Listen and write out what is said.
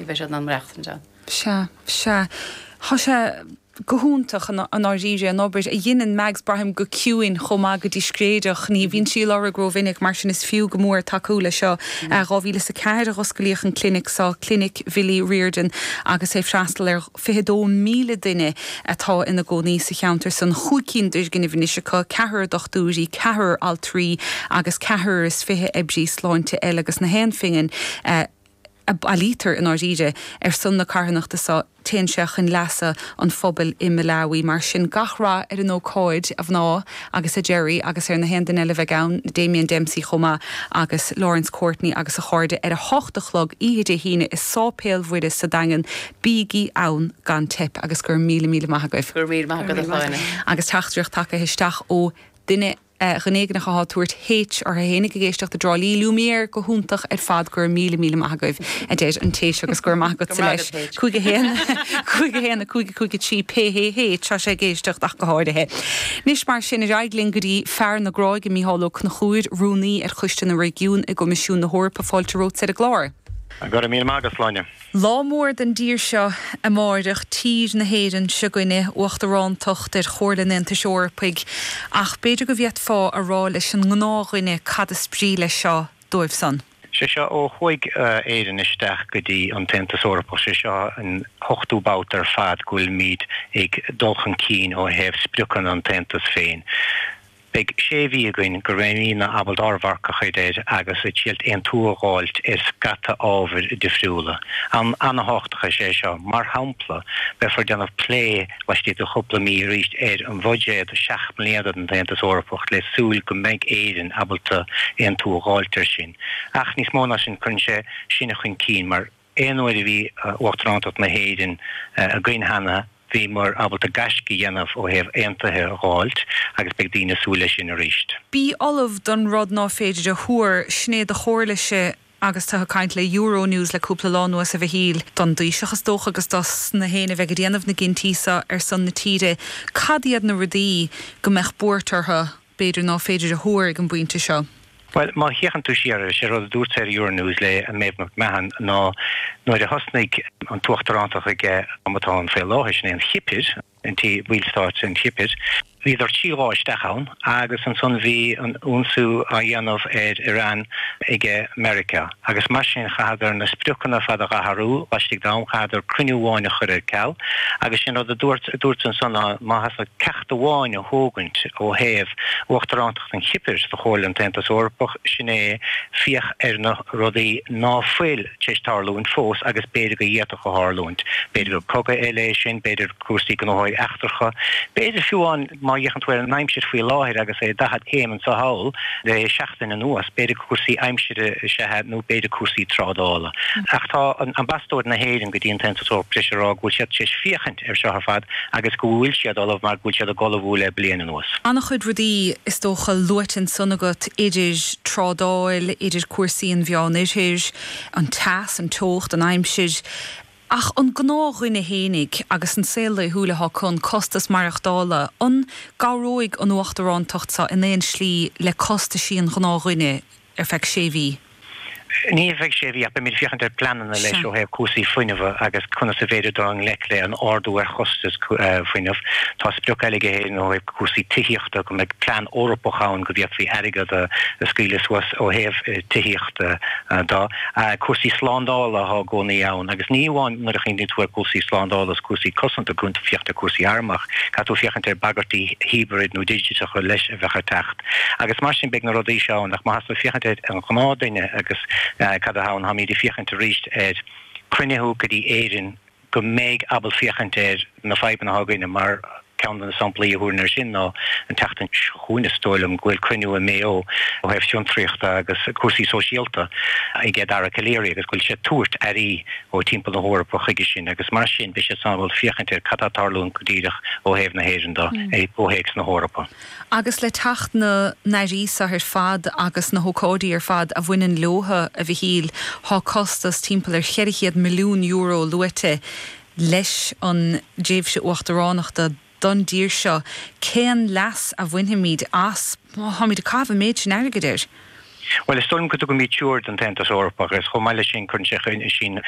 Ní bheidh siad in ann maireachtaint ann. Sea, sea. Tá sé go hiontach i ndáiríre, an obair a dheineann Mags, braithim, go ciúin chomh maith, go discréideach. Ní bhíonn sí i láthair go rómhinic, mar sin is fiú go mór tacú le seo. 2004 a dh'osclaíodh an clinic seo, Clinic Bhilly Riordan, agus é ag freastal ar 22,000 duine atá ina gcónaí sa cheantar san. Chúig cinn d'fhoirgnimh anois acu, ceathrar dochtúirí, ceathrar altraí agus ceathrar is 20 oibrí sláinte eile agus na haon phingin a bailítear i ndáiríre ar son na carthanachta so, téann sé chun leasa an phobail i Malawi. Mar sin, gach rath ar an ócáid, a mhná, agus a Gerry, agus ar na haon duine eile a bheidh ann, Damien Dempsey chomh maith, agus Laurence Courtney agus a chairde, ar a hocht a chlog oíche Dé hAoine i Sáipéal Mhuire sa Daingean. Bígí ann gan teip, agus go raibh míle míle maith agaibh. Go raibh míle maith agat, a Shláine. Agus teachtaireacht tagtha isteach ó duine. Dhuine éigin atá ag tabhairt H orthu fhéinig ag éisteacht i dTrá Lí. Lumière go hiontach ar fad, go raibh míle míle maith agaibh, a deir an té seo agus go raibh maith agatsa leis. 5 1 5 1 5 5 3 PHH, tá sé ag éisteacht ach go háirithe. Anois mar sin, ar aghaidh linn go dtí fear na Gráige, Mícheál Ó Conchúir, Rúnaí ar Choiste na Réigiún i gCoimisiún na hEorpa. Fáilte romhat ar an gclár. Go raibh míle maith agat, Sláine. Lá mór don dtír seo amáireach, tír na hÉireann seo 'gainne, uachtarántacht ar Chomhairle an Aontais Eorpaigh, ach b'fhéidir go bhféadfá a rá leis an ngnáthdhuine cad is brí leis seo dóibh san. Sé seo, ó chuaigh Éirinn isteach go dtí an tAontas Eorpach, sé seo an t-ochtú babhta ar fad go bhfuilimid ag dul chun cinn ó thaobh spriocanna an tAontais féin. Beidh sé mhí againn go mbeimidne ábalta ár mharc a chur air agus ag triailt aontú a dh'fháilt ar scata ábhair difriúla. Am ana-thábhachtach is ea é seo. Mar shampla, beifear ag déanamh plé laistigh de chúpla mí arís ar an bhuiséad seacht mbliana don tAontas Eorpach le súil go mbeidh Éirinn ábalta aontú a dh'fháilt air sin. Ach níos mó ná sin, cuireann sé sinne chun cinn mar. Aon uair a bhí Uachtarántacht na hÉireann againn cheana, bhíomar ábalta gaisce a dhéanamh ó thaobh aontuithe a dh'fháilt agus beidh daoine ag súil leis sin arís. Bí ullamh don rud ná féidir a thuar, sin é do chomhairlese agus tú ag caint le Euronews le cúpla lá anuas, a Mhichíl. Don dTaoiseach is dócha agus dos na héinne a bheidh ag déanamh na gcinntí seo ar son na tíre, cad iad na rudaí go mbeadh buairt orthu? b'fhéidir ná féidir a thuar ag an bpointe seo. Bhuel, má fhéachann tú siar air, sé rud a dúirt ar Euronews le Méabh McMahon ná nuair a thosnaigh an t-uachtarántacht aige am atá ann faoi láthair, sin é an Chipir, an tí, bhallstáit an Chipir, bhíodar 3 lá isteach ann agus ansan bhí an ionsaí á dhéanamh ar Iran aige Meiriceá agus mar sin chaitheadar na spriocanna ar fad a dh'athrú laistigh d'am, chaitheadar cruinniú amháin a chur ar ceal agus sin rud a dúirt, dúirt ansan ná má theastaigh ceacht amháin a thógaint ó thaobh uachtarántacht an Chipir do Chomhairle an tAontas Eorpach, sin é féach ar na rudaí ná fuil tar éis tarlúint fós agus b'fhéidir go bhféadfadh a tharlúint. B'fhéidir gur cogadh eile é sin, b'fhéidir cúrsaí gnóthaí eachtracha, b'fhéidir fiú amháin má fhéachann tú ar an aimsir faoi láthair agus é 40 céim anso thall le seachtain anuas, b'fhéidir cúrsaí aimsire is ea é nó b'fhéidir cúrsaí trádála. Ach tá ambasadóir na hÉireann go dtí an tAontas Eorpach tar éis a rá go bhfuil siad tar éis féachaint ar seo ar fad agus go bhfuil siad ullamh mar go bhfuil siad ag ullmhú le bliain anuas. An-chuid rudaí is dócha luaite ansan agat idir trádáil, idir cúrsaí an Mheán Oirthir, an teas, an teocht, an aimsir. Ach an gnáthdhuine fhéinig agus an saol laethúil atá acu, an costas maireachtála, an gcabhróidh an uachtarántacht seo in aon slí le costaisí an ghnáthdhuine ar feadh sé mhí? Ní ar feadh sé mhí ach beimid ag féachaint ar pleananna leis ó thaobh cúrsaí fuinnimh agus conas a bhféidir dul i ngleic le an ardú ar chostas fuinnimh. Tá sprioc eile ag Éirinn ó thaobh cúrsaí tithíochta, go mbeidh plean Eorpach ann go bhféadfaí airgead a scaoileadh suas ó thaobh tithíochta de. Cúrsaí slándála atá i gcónaí ann agus ní amháin nuair a chuimhníonn tú ar chúrsaí slándála is cúrsaí cosanta, caithfidh tú féachaint ar chúrsaí arm ach caithfidh tú féachaint ar bhagairtí hibrid nó digiteacha leis a bheadh ag teacht. Agus mar sin beidh na rudaí seo ann ach má theastaíonn féachaint ar an ghnáthdhuine agus cad atá ann, táimid ag féachaint arís ar cruinnithe go dtí Éirinn go mbeidh ábalta féachaint ar na fadhbanna atá againne mar ceann de na samplaí a thabharfainn air sin ná an tseachtain seo chugainn is dóigh liom go bhfuil cruinniú i Mayo ó thaobh fiontraíochta agus cúrsaí sóisialta ag Dara Calleary agus go bhfuil sé ag tabhairt airí ó timpeall na hEorpa chuige sin agus mar sin beidh siad ábalta féachaint ar cad atá ag tarlúint go díreach ó thaobh na hÉireann de i gcomhthéacs na hEorpa. Agus le teacht na n-airí seo ar fad agus na hócáidí ar fad a bhaineann leotha, a Mhichíl, thá costas timpeall ar €400 milliún luaite leis an dtréimhse uachtaránachta don dtír seo. Cén leas a bhainfimid as má tháimid ag caitheamh an méid sin airgid air? Bhuel, is dóigh liom go dtugaimid treoir don tAontas Eorpach agus chomh maith leis sin cuireann sé sinn chun.